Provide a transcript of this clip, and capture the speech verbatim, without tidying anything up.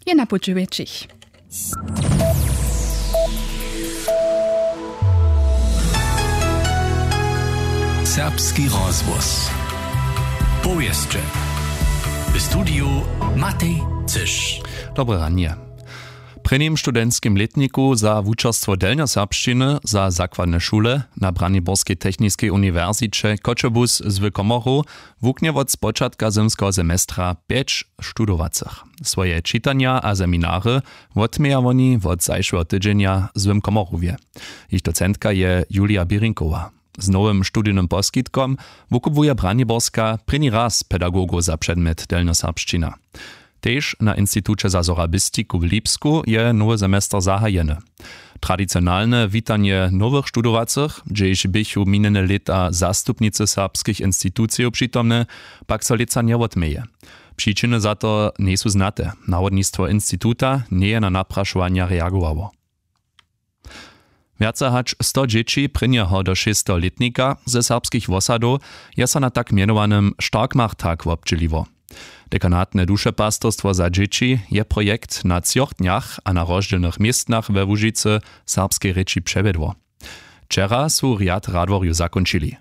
Je na puću wjetšich. Serbski rozhłos. Powěsće. W studiju Matej Cyš. Dobre ranje. W prěnim studentskim lětniku za wučerstwo delnjoserbšćiny za zakładne šule na Braniborskej techniskej uniwersiće Choćebuz z Komoru wuknje wot spočatka zymskeho semestra pjeć studowacych. Swoje čitanja a seminary wotměja woni wot zašłeho tydźenja w Komorowje. Jich docentka je Julia Běrinkowa. Z nowym studijnym poskitkom wukubłuje Braniborska prěni raz pedagogow za předmjet delnjoserbšćina. Tež na Instituće za sorabistiku w Lipsku je nowy semester zahajeny. Tradicionalne witanje nowych studowacych, hdźež běchu minjene lěta zastupnicy serbskich institucijow přitomne, pak so lětsa njewotměje. Přičiny za to njejsu znate. Nawodnistwo instituta njeje na naprašowanja reagowało. Wjace hač sto dźěći prěnjeho do šesteho lětnika ze serbskich wosadow je so na tak mjenowanym Starkmachttag wobdźěliło. Dekanatne dušepastyrstwo za dźěći je projekt na třoch dnjach a na rozdźělnych městnach we Łužicy serbskej rěči přewjedło. Wčera su rjad radworjow zakónčili.